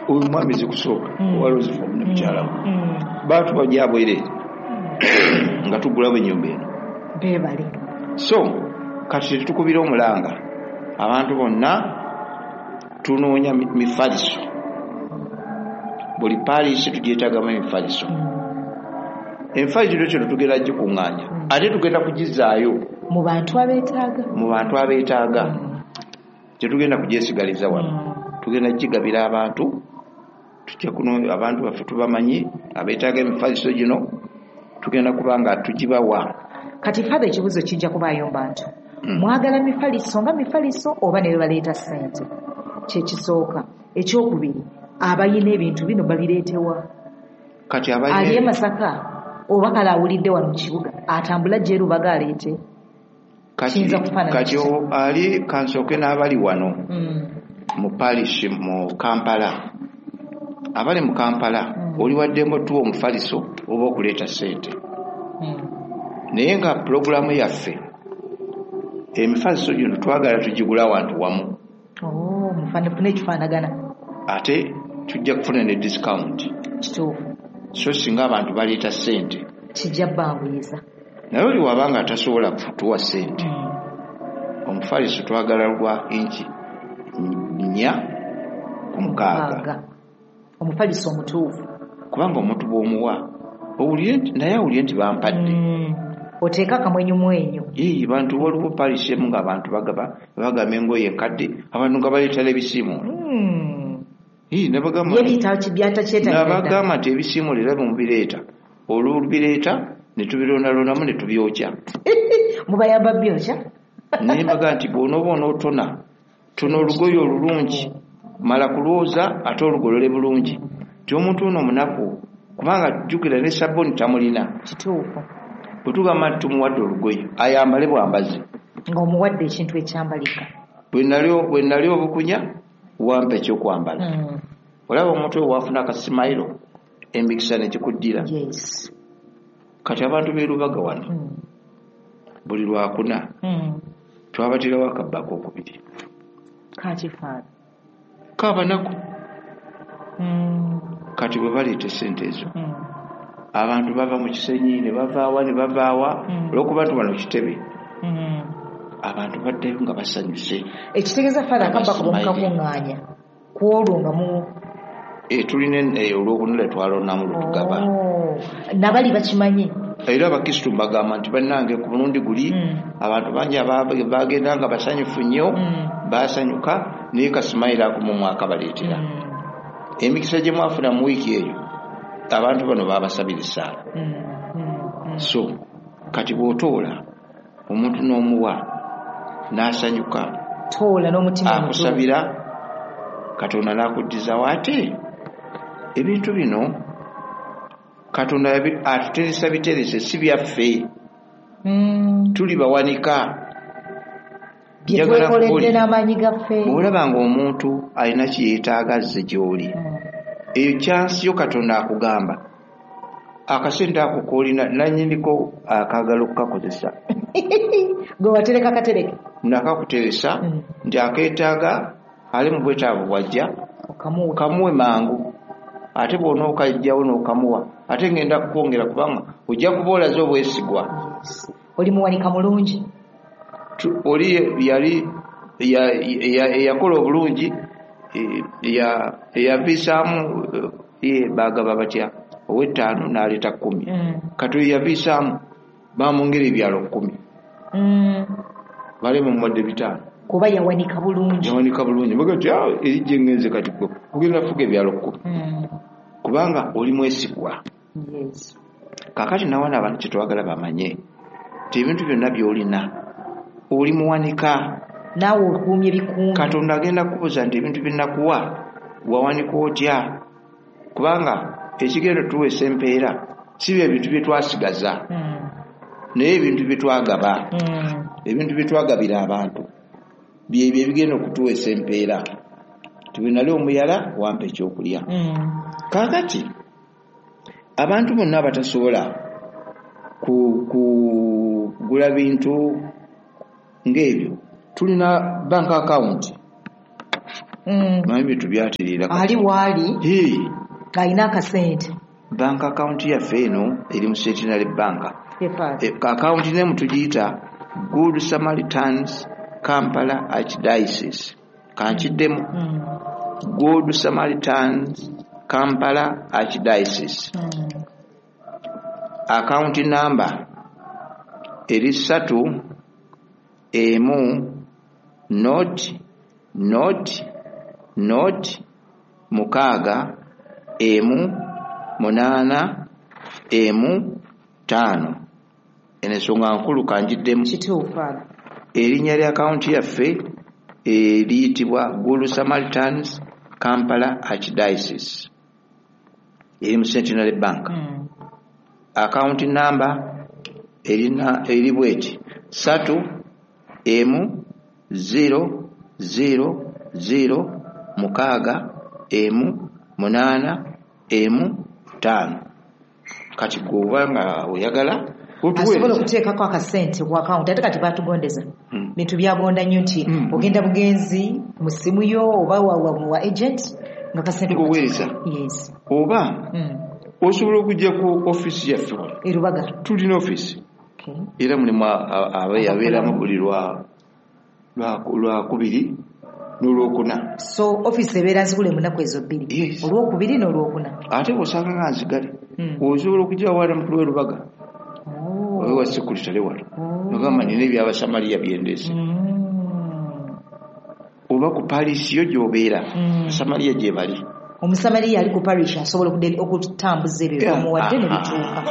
Oyo mwami Zikusooka owa Roseform ne mukyala we baatuwa gyabwereere nga tugulawo ennyumba eno. Beebale. So kati tetukubira omulanga abantu bonna, tunoonya mifaliso. Buli parish tugyetagamu emifaliso. Emifaliso kino tugenda gikuŋŋaanya, ate tugenda kugizaayo mu bantu abeetaaga. Mu bantu abeetaaga. Tetugenda kugyesigaliza wano, tugenda kugigabira abantu. Tujja kuno abantu baffe tubamanyi abeetaaga emifaliso gino, tugenda kuba nga tugibawa. Kati Father, ekibuuzo kijja kubaayo mu bantu. Mwagala mifaliso nga mifaliso oba ne baleeta ssente? Kyekisooka. Ekyokubiri, abayina ebintu bino babireetewa? Kati Ali e Masaka oba kale awulidde wano mu kibuga, atambula gye Rubaga aleete? Kati ali kansooke n'abali wano mu parish mu Kampala. Abali mu Kampala, oli waddembe otuwa omufaliso oba okuleeta ssente, naye nga pulogulaamu yaffe emifaliso gino twagala tugigula awantu wamu. Oh, mufune ekifaanagana. Ate tujja kufuna ne discount. Kituufu. So singa abantu baleeta ssente, kijja banguyiza. Naye oli wabanga tasobola kutuwa ssente, omufaliso twagala lwa inchi 4 ku 6. Omufaliso omutuufu. Kubanga omuntu bw'omuwa naye awulire nti bampadde. Oteeka akamwenyumwenyu. Ii, bantu waliwo parish emu ng'abantu bagaba bagamba engoye enkadde, abantu nga baleetera ebisiimuulo. Ii, nabagamba Ye byatakyetalira. Nabagamba nti ebisiimuulo era mubireeta, olwobireeta ne tubirondalondamu ne tubyokya. Mubayamba byokya. Naye mbaga nti bw'onooba onootona, tona olugoye olulungi, mala kulwoza ate olugolole bulungi, nti omuntu ono omunaku, kubanga jjukira ne sabbuuni tamulina. Kituufu. Bwe tugamba nti tumuwadde olugoye, ayambale bwambazi. Ng'omuwadde ekintu ekyambalika. Bwe nali obukunya, wampa ekyokwambala. Olaba omuntu oyo wafuna akasimayiro, emikisa ne gikuddira. Kati abantu b'e Rubaga wano, buli Lwakuna twabaterawo akabba akokubiri. Kakifaana. Kaabanaku. Kati bwe baleeta essente ezo, abantu bava mu Kisenyi ne bavaawa ne bavaawa, olwokuba nti wano kitebe, abantu baddayo nga basanyuse. Ekitegeeza, Father, akabba kuba mukakuŋŋaanya ku olwo nga mu Tulina olwokuna lwe twalondamu lwe tugaba. Oh, nabali bakimanyi. Era abakristu mbagamba nti bannange, ku mulundi guli abantu bangi bagenda nga basanyufu nnyo, basanyuka, naye kasimayiro ako mu mwaka baleetera emikisa gye mwafuna mu wiiki eyo, abantu bano babasabira essaala. So kati bw'otoola omuntu n'omuwa n'asanyuka, Toola n'omutima omutuufu. Akusabira, Katonda n'akuddizawo. Ate ebintu bino Katonda atuteresa biterese, si byaffe. Tuli bawanika. Bye Njagala twekoledde nkubuulire. n'amaanyi gaffe. Bw'olaba ng'omuntu alina kye yeetaaga azze gy'oli, eyo chance yo. Katonda akugamba akasente ako k'olina nannyiniko akaagala okukakozesa. Gwe watereka katereke. Nakakuteresa nti akeetaaga, ali mu bwetaavu, bwajja okamuwe. Kamuwe mangu. Ate bw'onookajjawo n'okamuwa, ate ngenda kukwongera, kubanga ojja kuba olaze obwesigwa. Oli muwanika mulungi. Oli yali eyakola obulungi, eyaviisaamu, ye bagaba batya, ow'ettaano n'aleeta 10. Kati oyo yaviisaamu, bamwongera ebyalo 10. Bali mumuwadde 5. Kuba yawanika bulungi. Yawanika bulungi. Baga nti, "Ah, eri gye ngenze kati gwe ogenda fuga ebyalo 10, kubanga oli mwesigwa." Kaakati nawana abantu kyetwagala bamanye nti ebintu byonna by'olina, oli muwanika. Naawe okuumye bikuumi. Katonda agenda kukubuuza nti ebintu byenakuwa wawanika otya? Kubanga ekigendo tuweesa empeera si bye bintu bye twasigaza, naye ebintu bye twagaba, ebintu bye twagabira abantu, byebyo ebigenda okutuweesa empeera. Tibwe nali omuyala, wampa ekyokulya. Kaakati abantu bonna abatasobola kugula bintu ng'ebyo, tulina bank account. Manyi bintu byatereera kati. Ali waali Hey, ng'alina akasente. Bank account yaffe eno eri mu Centenary Bank. Ye Father. Account name tugiyita Good Samaritans Kampala Archdiocese. Kankiddemu. Good Samaritans Kampala Archdiocese. Account number eri 3 1 0 0 0 6 1 8 1 5. Eno ensonga nkulu, kanjiddemu. Kituufu, Father. Erinnya lya akawunti yaffe eriyitibwa Good Samaritans Kampala Archdiocese, eri mu Centenary Bank. Account number erina eri bweti: 3 1 0 0 0 6 1 8 1 5. Kati gwe oba nga oyagala asobola otuweereza. Okuteekako akasente ku akawunti, ate kati batugondeza bintu byagonda nnyo nti ogenda bugenzi mu ssimu yo oba wa agent nga kasente Ng'oweereza. Yes. Oba osobola okujja ku ofiisi yaffe wano. Erubaga. Tulina ofiisi. Era mulimu abeeramu buli lwakubiri n'olwokuna. So ofiisi ebeera nzigule mu nnaku ezo 2? Yes. Olwokubiri n'olwokuna. Ate bw'osanga nga nzigale, osobola okujja wala mukulu w'erubaga owa sekuritale wano, nogamba nina ebyabasamaliya byendeese, oba ku parish yo gy'obeera, basamaliya gye bali. Omusamaliya ali ku parish asobola okutambuza ebyo byomuwadde ne bituuka.